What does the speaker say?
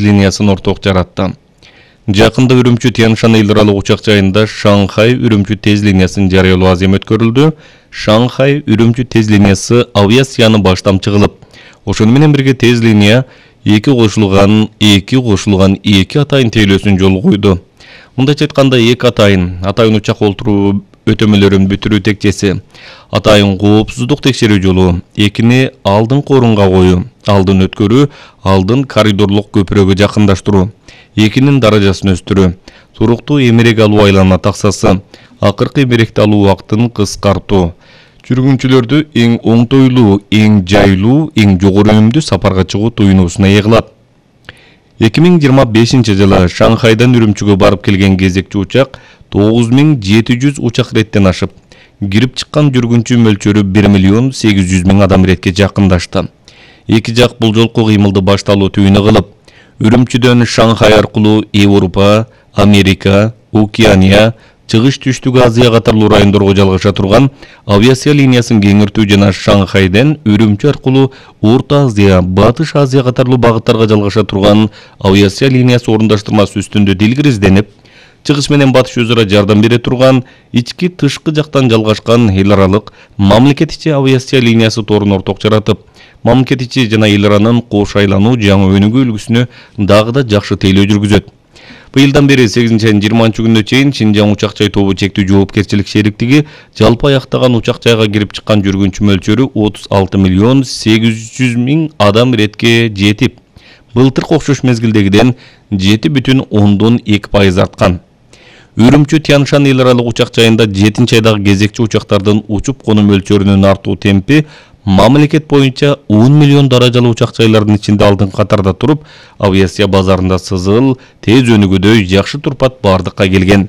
линиясын орток жаратты. Жакында Үрүмчү Тянь-Шань эл аралык учак жайында Шанхай-Үрүмчү тез линиясын жарыялоо азем өткөрүлдү. Шанхай-Үрүмчү тез линиясы авиацияны баштамчы кылып, ошону менен бирге тез линия эки кошулган эки атайын тейлөөсүн жолго койду. Мындайча айтканда атайын учак олтуруу өтөмөлөрүн бүтүрүү текчеси, атайын коопсуздук текшерүү жолу, экини алдыңкы орунга коюу, алдын өткөрүү, алдын коридорлук көпүрөгө жакындаштыруу, экинин даражасын өстүрүү, туруктуу эмерек алуу айлана таксасы, акыркы эмеректи алуу убактын кыскартуу, жүргүнчүлөрдү эң оңтойлуу, эң жайлуу, эң жогору үнүмдүү сапарга чыгуу туюнуусуна ээ кылат. 2025-жылы Шанхайдан Үрүмчүгө барып келген кезекчи учак 9700 учак реттен ашып, кирип чыккан жүргүнчү мөлчөрү 1.800.000 адам иретке жакындашты. Эки жак бул жолку кыймылды башталуу түбүнө кылып, Үрүмчүдөн Шанхай аркылуу Европа, Америка, Океания, Чыгыш Түштүк Азия катарлуу райондорго жалгаша турган авиация линиясын кеңиртүү жана Шанхайдан Үрүмчү аркылуу Орто Азия, Батыш Азия катарлуу багыттарга жалгаша турган авиация линиясы орундаштырмасы үстүндө дилгир изденип, чыгыш менен батыш өзара жардам бере турган ички тышкы жактан жалгашкан эл аралык мамлекет ичи авиация линиясы торун орток жаратып, мамлекет ичи жана эл аранын кош айлануу жаңы өнүгүү үлгүсүнө дагы да жакшы тейлөө жүргүзөт. Быйылдан бери 8-20 күнүнө чейин Шинжаң учак-жай тобу чектүү жоопкерчилик шериктиги жалпы аяктаган учак-жайга кирип чыккан жүргүнчү мөлчөрү 36.800.000 адам иретке жетип, былтыркы окшош мезгилдегиден 7,2% арткан. Үрүмчү Тянь-Шань эл аралык учак жайында 7-айдагы кезекчи учактардын учуп конуу мөлчөрүнүн артуу темпи мамлекет боюнча 10 миллион даражалуу учак жайлардын ичинде алдыңкы катарда туруп, авиация базарында сызыл, тез өнүгүүдөй жакшы турпат бардыкка келген.